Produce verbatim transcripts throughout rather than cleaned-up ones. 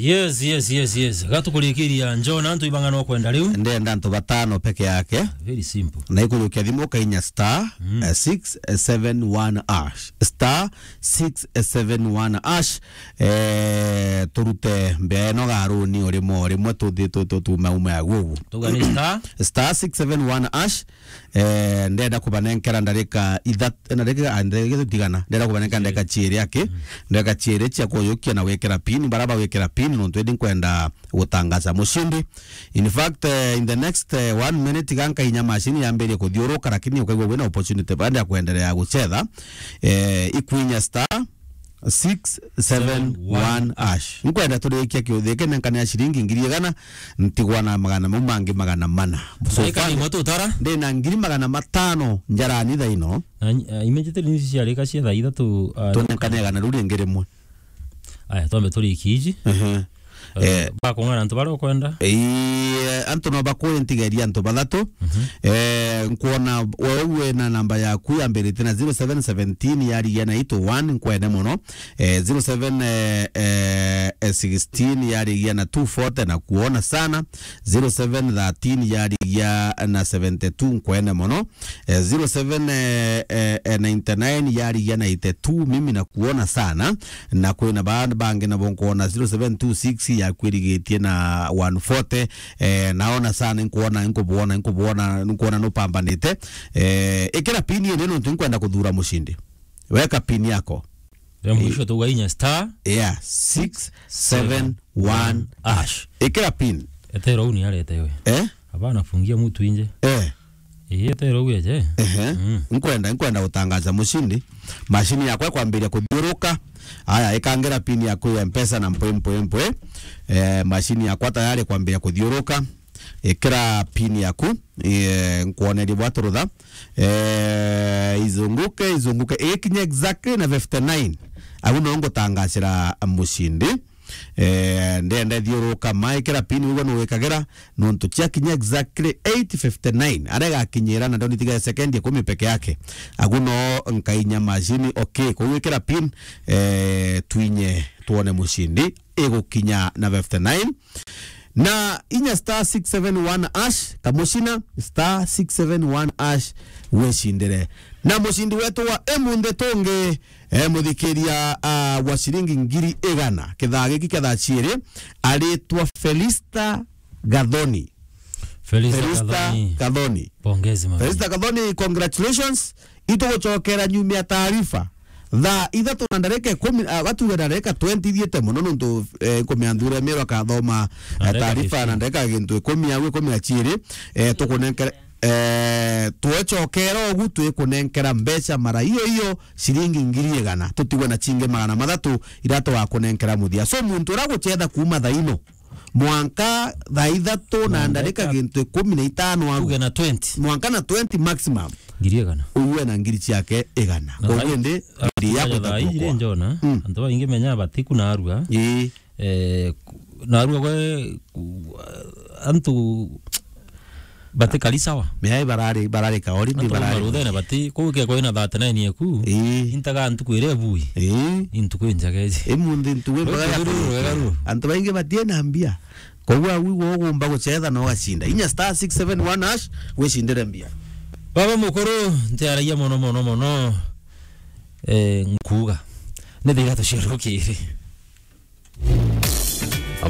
Yes, yes, yes, yes. Gatukurikiria, John, antu ibang'ana ukwenda riu? Ndenda antu batano peke yake. Very simple. Na ikujukia thimu ukainya star, Mm. eh, six seven one hash. Star six seven one hash. Eh, turute mbea ino garuni o rimwe o rimwe tuthi tu-, tu-, tumaume agu ugu. Tuga ni star? Star six seven one hash. Eh, ndenda kubanenkera ndarika ithat-, ndarika, ah, ndarika tigana. Ndenda kubanenkera ndarika ciiri aki. Mm. Ndarika ciiri cia kuyukia na gwikira pin, bara bagwikira pin, nontu indi nkwenda gutangaza mushindi. In fact, eh, in the next, eh, one minute, iga nkainya machine yambirie kuthiuruka, lakini ukaigua wina opportunity bandi ya kuendelea gucetha. Eh, ikwinya star six seven one hash. Nkwenda turikia kiuthi giki, nenkane ya ciringi ngiri igana, ntigwa na magana mau mangi magana mana. So far, ndina ngiri magana matano njarani thaa ino. Na, ah, immediately news ciarika cia thaa ithatu, ah, tunenkane igana riu ringi rimwe. Aya, twambe turikie iji. Ehe. Eh, bakung'ana antu baria ukwenda? Ii, antu no bakuye ntigeria antu bathatu. Mhm. Eh, nkwona wewe wina namba yaku yambirite na zero seven seventeen yarigia na eight oh one, nkwende mono. Eh, zero seven, eh, eh, eh, sixteen yarigia na two forty, na kuona sana. Zero seven thirteen yarigia na seventy two, nkwende mono. Eh, zero seven, eh, eh, eh, ninety nine yarigia na eighty two, mimi na kuona sana. Na kwina ba-, bangi nabo nkwona zero seven two six yakwirigitie na one forty. Eh, naona sana, nkwona, nkubwona, nkubwona, nkwona nupambanite. Eh, ikira pin indi nontu nkwenda kuthura mushindi. Weka pin yako. Ya mwisho tu gainya star. Yeah, six seven one hash. Ikira pin. Etero uni arete we. Eh? Hapana, fungia mtu nje. Eh. Ii, etero uge je. Ehe. Mm. Nkwenda, nkwenda gutangaza mushindi. Mashini yakwa ikwambiria kuthiuruka. Aya, ikangira pin yaku ya Mpesa na mpwe, mpwe, mpwe. Eh, mashini yakwa tayari kwambiria kuthiuruka. Ikira pin yaku, eh, nkwonerie bwaturutha. Eh, izunguke, izunguke. Ikinya exactly na fifty nine. Agu no ngutangacira mushindi. Eh, ndenda ithiuruka, maikira pin, uguo nuwikagira, nontu ciakinya exactly eight fifty nine, aria igakinyira, na ndonitiga sekendi ikumi peke yake. Agu no nkainya mashini, okay, kugwikira pin, eh, twinye twone mushindi, igukinya na fifty nine. Na inya star six seven one hash, kamucina, star six seven one hash, wicindire. Na mucindi wetu wa imunthi tungi, eh, muthikiria, ah, wa ciringi ngiri igana. Kithaa giki kia thaa ciiri, aritwa Felista Gathoni. Felista Felista Gathoni. Gathoni. Pongezi, mami. Felista Gathoni, congratulations. Itugucokera nyumia taarifa. Thaa ithatu na ndarika ikumi, ah, gatuge ndarika twenty ithiite mono nontu, eh, nkumia nthuri ya Miru akathoma, eh, taarifa na ndarika gintu ikumi au ikumi na ciiri, eh, tukunenkere Eh, twecokera ugu twikunenkera mbeca mara iyo iyo ciringi ngiri igana, tutigwe na cingi magana mathatu iria tugakunenkera muthia. So, muntu uria gucetha kuuma thaa ino mwanka thaa ithatu na ndarika gintu ikumi na itano au. Tuge na twenty. Mwanka na twenty maximum. Ngiri igana. Uwe na ngiri ciake igana. Na koguo thaa indi, ah, ngiri ya thaa iji ri njona, mm, antu baingi menya batiku na arua. Ii. Eh, ku-, narua gwe, ku-, antu batikari sawa. Mea barari, barari kaori, antu barari. Baruthene bati, kuu ke kwina thirty nine yeku. Ii. Intaga ntuku iria bui. Ii. Intuku injaga iji. Imunthi ntuku ii mpaka ya ruru, ruru, ruru. Antu baingi batie na mbia. Koguo au igwe ugumba gucetha na ugacinda. Inya star six seven one hash, wicindire mbia. Baba mukuru, ntiaragia mono, mono, mono. Eh, nkuuga. Ni thira tuciarukiri.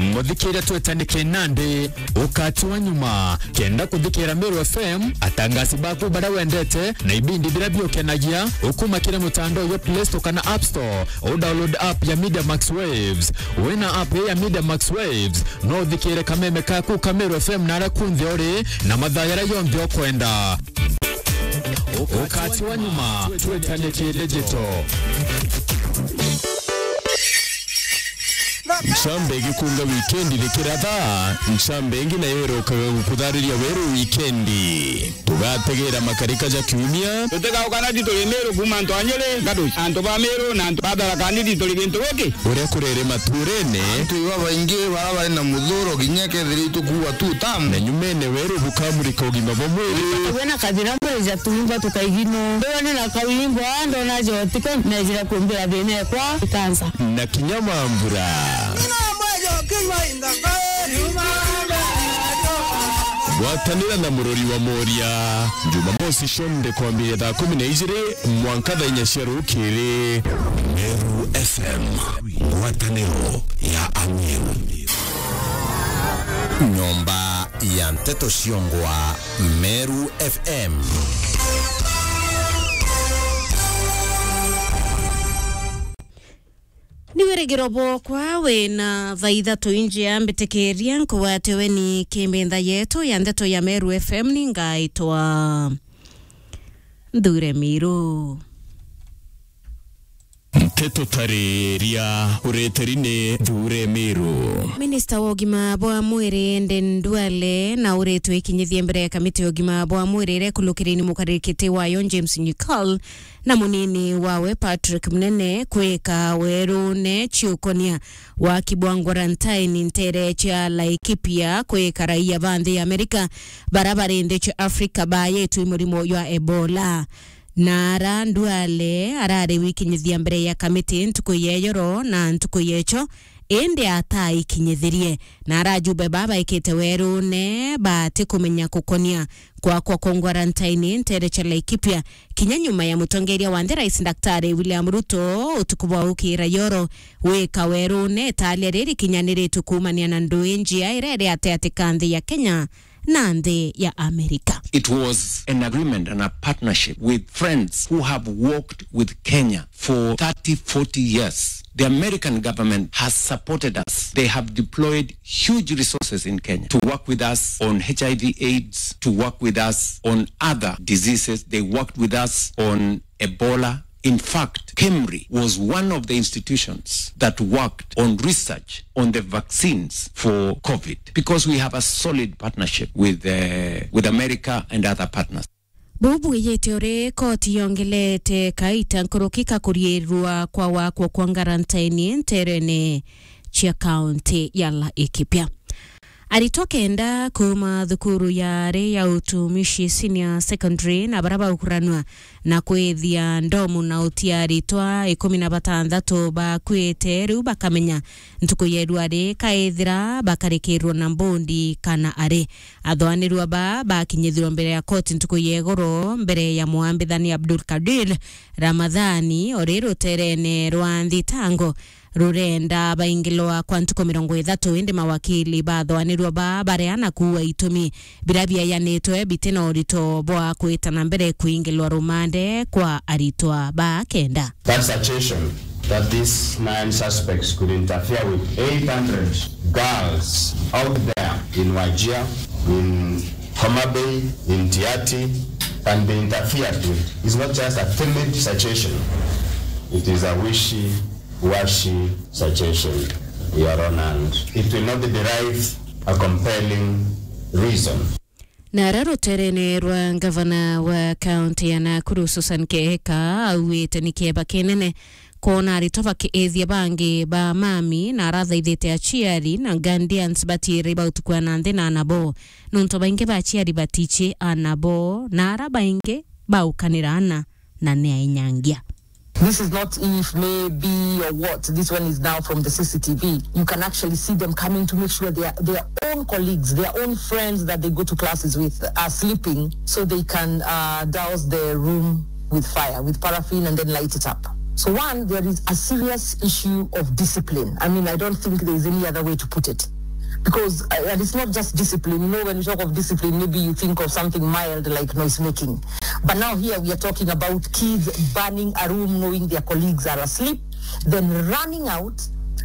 Muthikiria twetanikie nandi ukati wa nyuma. Kenda kuthikira Meru F M, atangasi baku baria wendete na ibindi biria biukenagia, ukuma kiri mutandao jwa Play Store kana App Store, u download app ya Media Max Waves. Wina app ya Media Max Waves, no uthikire kameme kaku ka Meru F M naria kunthe uri na mathaa jaria jonthe ukwenda. Ukati wa nyuma, twetanikie digital. Ncambe igikunga wikendi rikiratha, ncambe ingi nayo irokaga gukuthariria weru wikendi. Tugategera makarika ja kiumia. Tutigauka nandi turi Meru kuuma antu a Nyeri, Ngadu, antu ba Meru na antu ba Tharaka Nithi turi gintu giki. Uria kurere maturene. Antu iba baingi bara bari na muthuro kinya kethira itukuua tu tamu. Na nyumene weru bukamurika ugima bwa mwiri. Wina kathira mbwija tuimba tukaigino. Mbirone na kawimbo, ndona jotiko, nejira kumbira thina ekwa, ikansa. Na kinya mambura. Gwatanira na Murori wa Moria, Jumamosi cionthe kwambiria thaa kumi na ijiri mwanka thaa inya cia rukiri. Meru F M, ngwataniro ya Ameru. Nyomba ya nteto ciongwa, Meru F M. Ni wirigiro bwokwa wina thaa ithatu injia mbitikiria nkugwate weni kimbintha yetu ya ndeto ya Meru F M, ni ngaitwa Nthure Miru. Nteto tariria ureteri ni Nthure Miru. Minista wa ugima bwa mwiri Aden Duale na uritwe ikinyithie mbere ya kamiti ya ugima bwa mwiri iria ikulukirine mukaririkiti wayo James Nyikol na munini wawe Patrick Munene kwika werune ciukonia waki bwa quarantine ntere cia Laikipia kwika raia ba nthi ya Amerika bara bari nthi cia Afrika bayetwi murimo jwa Ebola. Na ara Duale arari wikinyithia mbere ya kamiti ntuku ya ijoro na ntuku ya icho, indi ataikinyithirie. Na ara ajumbe baa baikite werune batikumenya kukonia kwakwa kwa quarantine ntere cia Laikipia, kinya nyuma ya mutongeria wa nthi Rais Daktari William Ruto utuku bwa ukira yoro wika werune. Italia riri kinyaniritwe kuumania na ndui njia iria iri ati ati ka nthi ya Kenya na nthi ya Amerika. It was an agreement and a partnership with friends who have walked with Kenya for thirty, forty years. The American government has supported us. They have deployed huge resources in Kenya to work with us on H I V AIDS, to work with us on other diseases. They worked with us on Ebola. In fact, KEMRI was one of the institutions that worked on research on the vaccines for COVID because we have a solid partnership with, uh, with America and other partners. Buu bwijite uri koti yongelete kaita nkuruki ka kuriirua kwa wakwa kwa quarantine nterene cia kaunti ya Laikipia. Aritwa kenda kuuma thukuru ya ari ya Utumishi Senior Secondary na bara baukuranua na kwithia ndomu na utia aritwa ikumi na batanthatu bakuite riu bakamenya ntuku ya irua ri kaithira bakarikirwa na mbundi kana ari. Athoanirua baa bakinyithirwa mbere ya koti ntuku ya igoro mbere ya mwambithani Abdul Kadir Ramadhani ori ruterene rwa nthitango rurenda baingilwa kwa ntuku mirongo ithatu, indi mawakili bathoanirua baa bareana kuua itumi bira biayanitwe bitina urito bwa kwita na mbere kuingilwa rumande kwa aritwa baa kenda. That suggestion that these nine suspects could interfere with eight hundred girls out there in Wajir, in Homa Bay, in Tiaty, can be interfered with is not just a timid suggestion. It is a wishy-washy suggestion, Your Honor, and it will not derive a compelling reason. Na ara ruterene rwa ngavana wa kaunti ya Nakuru, Susan Kihika, augite ni kieba kinene kwona aritwa bakiithia bangi ba mami, na arathaithite aciari na guardians batiire bautukua na nthi na anabo, nontu baingi ba aciari batici anabo, na ara baingi baukanira ana na ni ainyangia. This is not if, maybe, or what. This one is now from the C C T V. You can actually see them coming to make sure their, their own colleagues, their own friends that they go to classes with are sleeping, so they can, uh, douse the room with fire, with paraffin, and then light it up. So one, there is a serious issue of discipline. I mean, I don't think there is any other way to put it. Because, uh, and it's not just discipline. You know, when we talk of discipline, maybe you think of something mild like noise making. But now here we are talking about kids burning a room knowing their colleagues are asleep, then running out,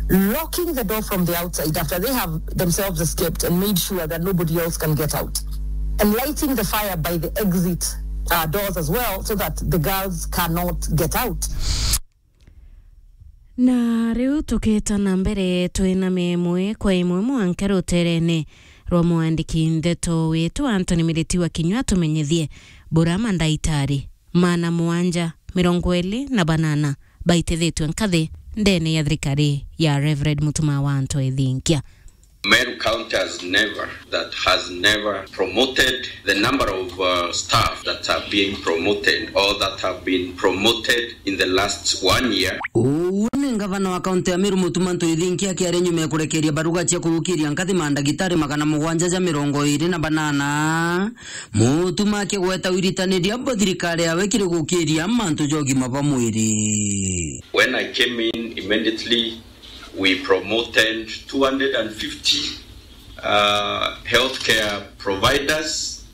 locking the door from the outside after they have themselves escaped and made sure that nobody else can get out, and lighting the fire by the exit, uh, doors as well, so that the girls cannot get out. Na riu tukita na mbere, twina memwe kwa imwe mwanka ruterene rwa mwandiki ndeto witu Anthony Miriti wa Kinyua, tumenyithie bura mandaitari maana mwanja mirongo iri na banana baitithitwe nkathi ndene ya thirikari ya Reverend Mutuma wa Anto Ethinkia. Meru County has never, that has never promoted the number of, uh, staff that are being promoted or that have been promoted in the last one year. Uu ni Gavana wa kaunti ya Meru Mutuma Ntwithinki akiaria nyuma ya kurekeria baruga cia kurukiria nkathi mandagitari magana mugwanja ja mirongo iri na banana, Mutuma akigweta wiritaniria bwa thirikari yawe kiri gukiria mantu ja ugima bwa mwiri. When I came in, immediately we promoted two hundred and fifty uh, healthcare providers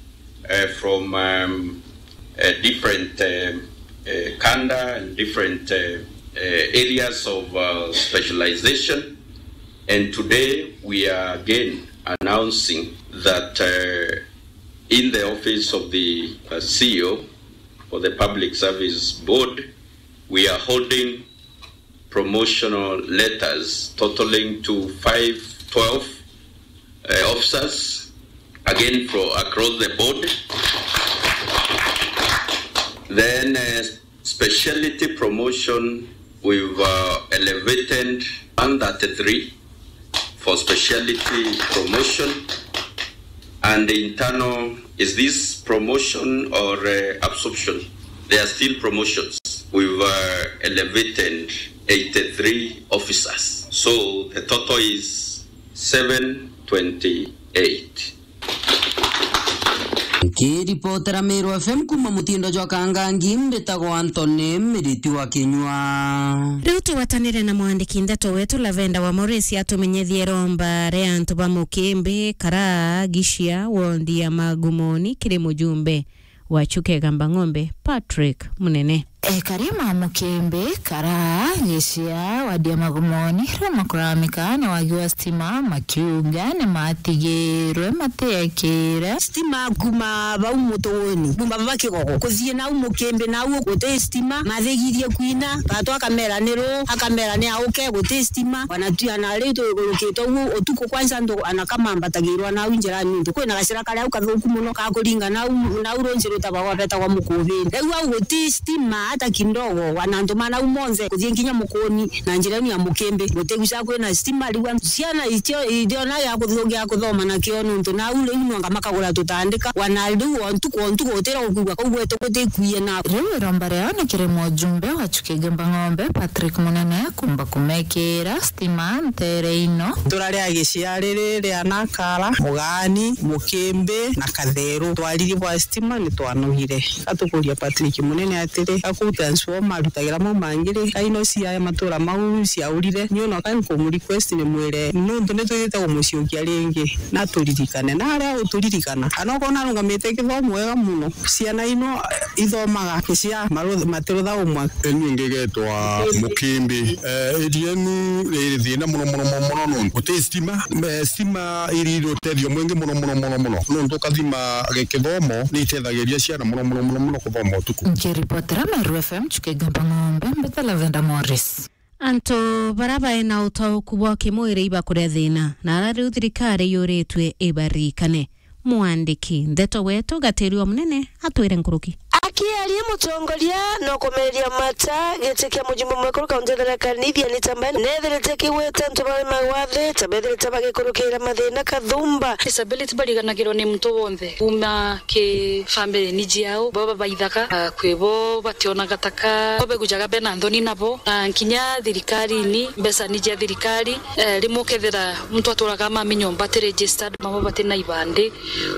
uh, from um, uh, different um, uh, kanda and different uh, uh, areas of uh, specialization. And today we are again announcing that uh, in the office of the uh, C E O for the Public Service Board, we are holding promotional letters totaling to five twelve uh, officers, again for across the board. Then uh, speciality promotion, we've uh, elevated one thirty-three for speciality promotion, and the internal, is this promotion or uh, absorption? They are still promotions. We've uh, elevated eighty-three officers. So the total is seven twenty-eight. Nkiripotera Meru F M kuma mutindo jwa Kangangi, mbitagwa Anthony Miriti wa Kinyua. Riu tugwatanire na mwandiki ndeto wetu Lavenda wa Morris atumenyethie iromba ria antu ba Mukimbi, Karaa, Gishia, wondi ya Magumoni, kiri mujumbe wa Chuka Igamba Ng'ombe, Patrick Munene. Ekari ma Mukimbi, Karaa, Gishia, wadi ya Magumoni, riu makuramika ni wagi wa stima, makiuga ni matigirwe matiekire. Stima kuma bau Mutuguni, kuma baba Kigogo, kuthii nau Mukimbi, nau guti stima, mathigithie kwina, gatwa akamera ni ru, akamera ni auke, guti stima, wanatuana riu tuigurukite uguo utuku kwanza, antu ana kamambatagirwa nau njirani, nontu kwina gacira kari au kathuku muno, ga kuringa nau, nau runji rutagwa gwetagwa Mukubini. Riu au guti stima hata kidogo, wana antu ma nau monthe kuthii nginya Mukuni na njira inu ya Mukimbi, gutiguca kwina stima. Riu antu, ciana itio, itiona gia kuthu-, gia kuthoma nakio, nontu nau riu nwanga makagura tutandika, wana riu o ntuku o ntuku utira gukwigua kau gwetu gutikwie na. Riu iromba riao ni kiri mujumbe wa Chuka Igamba Ng'ombe, Patrick Munene, kumba kumekira stima ntere ino. Itura ria Gishia riri ria Nakara, Mugani, Mukimbi na Katheru, twariri bwa stima ni twanogire. Gatukuria Patrick Munene atiri, ga kuu transformer arutagira mau mangi ri, ka ino cia matura mau ciaurire, ni ona ka nkumurequest ni mwire, nontu ni twithite kumuciukia ringi, na turirikane. Na aria uturirikana, kana ukona arungamite kithomo wega muno, ciana ino ithomaga cia maru-, matirutha umwe. Ni ngegetwa Mukimbi. Eh, area inu iri thina muno, muno, muno, muno, nontu guti stima. Eh, stima iri iri utethio mwingi muno, muno, muno, muno, nontu ukathima gikithomo ni itethagiria ciana muno, muno, muno, muno kuthoma utuku. Nkiripotera Meru F M, Chuka Igamba Ng'ombe, mbeta Lavenda Morris. Antu baria baina utauku bwa kimwiri ibakuria thina, na aria riu thirikari yuritue ibaririkane. Mwandiki ndeto wetu Gatiri wa Munene atwire nkuruki. Akiaria mutongoria no kumeria mata giti kia mujumbe mwekuru kaunti ya Tharaka Nithi Anita Mbae nethirite kigwete antu baria magwathe ta bethirite bagikurukira mathina kathumba. Disability bariganagirwa ni muntu wonthe kuma ki family ni jiao, baba baithaga, ah, kwi bo bationaga taka, bo begujaga bena nthoni nabo, na nkinya thirikarini, mbeca ni jia thirikari, eh, rimwe ukethira muntu aturaga mami nyomba ati registered, mama bati na ibandi.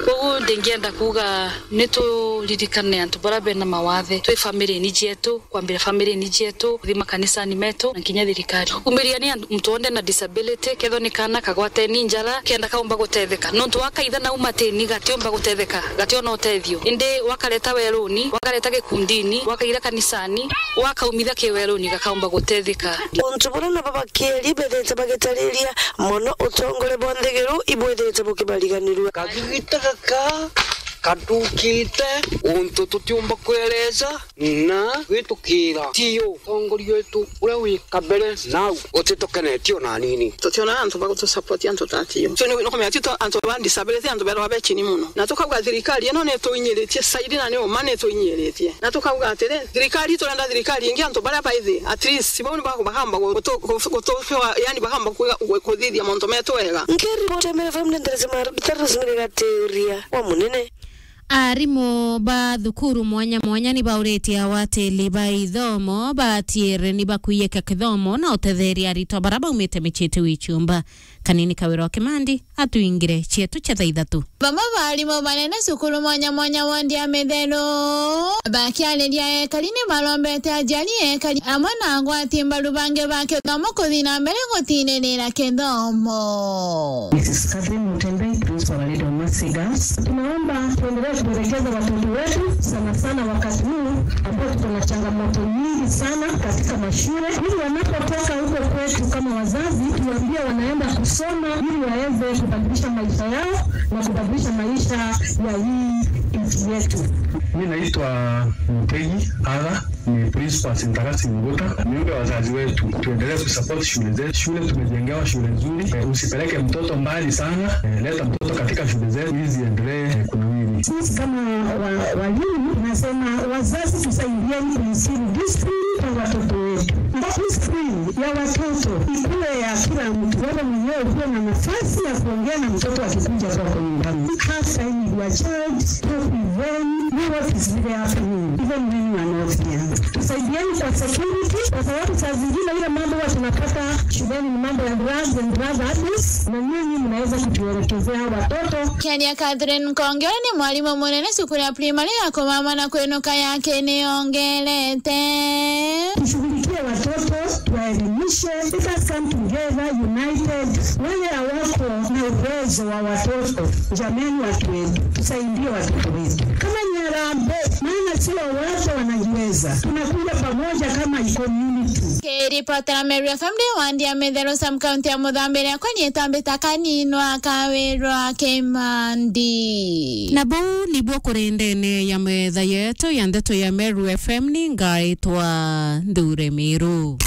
Koguo ndingienda kuuga ni turirikane antu baria bena mawathe, twi family ni jietu, kwambira family ni jietu, kuthi makanisani metu, na nkinya thirikari. Umiria ni antu, muntu wonthe na disability, kethwa ni kaana kagwateni njara, kenda kaumba gutetheka. Nontu wakaitha nau matini gatiumba gutetheka, gationa utethio. Indi wakareta weruni, wakareta gikundini, wakaira kanisani, wakaumitha kiweruni gakaumba gutetheka. Untu buria nabo bakieri bethete bagitariria mono utongore bwa nthiguru ibwithite bukibariganirua. Kagigita gaka katukite untu tutiumba kwereza na gwitukira. Tiyo utongoria wetu uria wi kabere nau utitukenetie ona nini. Tutiona antu ba gutusupport antu ta tiyo. So ni, ni kumenya tito antu ba disability, antu berwa be chini muno. Na tukauga thirikari ino ni tuinyiritie saidi na ni uma ni tuinyiritie. Na tukauga atiri, thirikari, turenda thirikari ingi, antu baria baithi, at least, bau ni baku-, bakamba gu-, gutu-, gu-, gutu-, yani, bakamba kwiga, gu-, kuthithia mauntu metu wega. Nkiripotera Meru F M ni ndereti ma Rutaro Rosemary Gatiuria wa Munene. Arimu ba thukuru mwanya mwanya ni bauritie awatili ba ithomo batiere ni bakwiyika kithomo na utetheria aritwa bara baumite micii iti wiciumba. Kanini Kawira wa Kimandi atwingire cietu cia thaa ithatu. Bamwe ba arimu banene cukuru mwanya mwanya wondi ya Mitheru bakiariria ekari ni barombete aciari, ekari amwe na agwati mbaru bangi ba kithomo kuthi na mbere gutiririra kithomo. Missus Catherine Mutembei, Principal Our Lady of Mercy Girls. Tunaomba tuendelee kuelekeza watoto wetu, sana sana wakati huu ambao tuko na changamoto nyingi sana katika mashule, ili wanapotoka huko kwetu kama wazazi, tuambie wanaenda kusoma ili waweze kubadilisha maisha yao na kubadilisha maisha ya hii nchi yetu. Mi naitwa Mutegi Aga. Ni principal Saint Augustine Mbuta. Niombe wazazi wetu tuendelee kusupport shule zetu. Shule tumejengewa shule nzuri. Eh, usipeleke mtoto mbali sana. Eh, leta mtoto katika shule zetu ili ziendelee, eh, kunawiri. Sisi kama wa-, walimu tunasema wazazi tusaidieni kuinstill discipline kwa watoto wetu. Na discipline ya watoto ikuwe ya kila mtu. Wewe mwenyewe ukuwe na nafasi ya kuongea na mtoto akikuja kwako nyumbani. Have time with your child, talk with them, know what is really happening, even when you are not there. Tusaidieni kwa security, kwa sababu saa zingine ile mambo huwa tunapata shuleni ni mambo ya drugs and drug abuse, na nyinyi mnaweza kutuelekezea watoto. Kiaria Catherine Nkonge, uria ni mwarimu munene cukuru ya primary ya kumama na kwinuka ya Kiniongerete. Tushughulikie watoto, tuwaelimishe. Let us come together united. Wale hawako na uwezo wa watoto, jameni, watu wetu, tusaidie watoto wetu. Kama ni harambee, maana sio wote wanajiweza. Tunakuja pamoja kama community. Kiripotera Meru F M ndi wandi ya Mitheru, sub county ya Muthambiria, kwa nietambita Kanini wa Kawira wa Kimandi. Na buu nibuo kuri ndene ya metha yetu ya ndeto ya Meru F M, ni ngaitwa Nthure Miru.